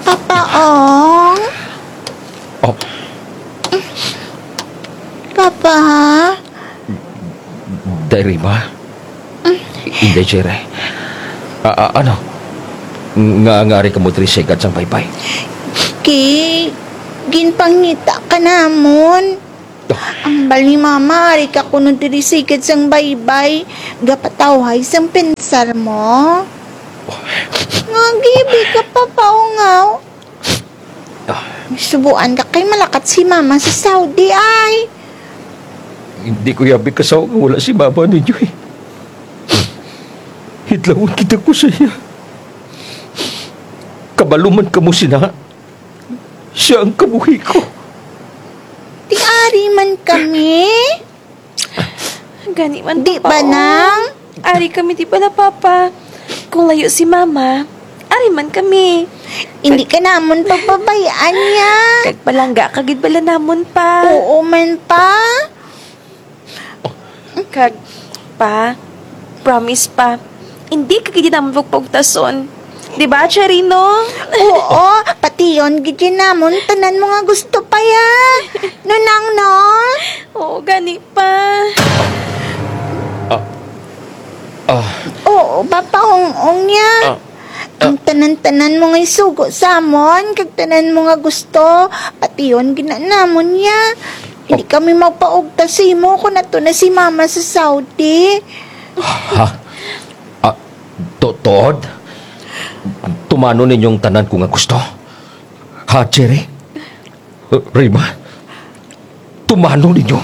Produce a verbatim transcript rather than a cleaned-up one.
Papa Ong? Oh. Papa? Day Rima? Inday Cherry. A, a, ano? Nga, nga ari kamo diri sa higad sang baybay? Kay, ginpangita ka namon. Hambal ni Mama, ari ka kuno diri sa higad sang baybay, gapatawhay sang pensar mo. Nga, gayabi ka, Papa Ong, aw. Ah. Subuan ka kay malakat si Mama sa Saudi, ay. Indi ko yabi kasaw nga wara si Mama ninyo, eh. Hidlawon kita ko sa iya. Kabalo man kamo sina. Siya ang kabuhi ko. Ti ari man kami. Gani man, Papa Ong. Di ba, Nang? Ari kami, di bala, Papa? Kung layo si Mama, ari man kami. Indi ka namon pababay-an niya. Kag palangga ka gid bala namon, Pa. Oo man, Pa. Kag, Pa, promise, Pa, indi ka gid namon pagpaugtason. Di ba, Cherry, no? Oo, pation gid namon tanan mo nga gusto, Pa, ya. No, Nang, no? Oo, gani, Pa. Ah. Ah. Oo, Papa Ong-ong, ya. Ah. Ang tanan-tanan mo nga isugo sa amon, kag tanan mo nga gusto, pation gid na namon, ya. Indi kami magpaugtas sa imo kon adto na si Mama sa Saudi. Ha? Ah, tu-, tuod? Tumanon ninyo ang tanan ko nga gusto? Ha, Cherry? Rima? Tumanon ninyo?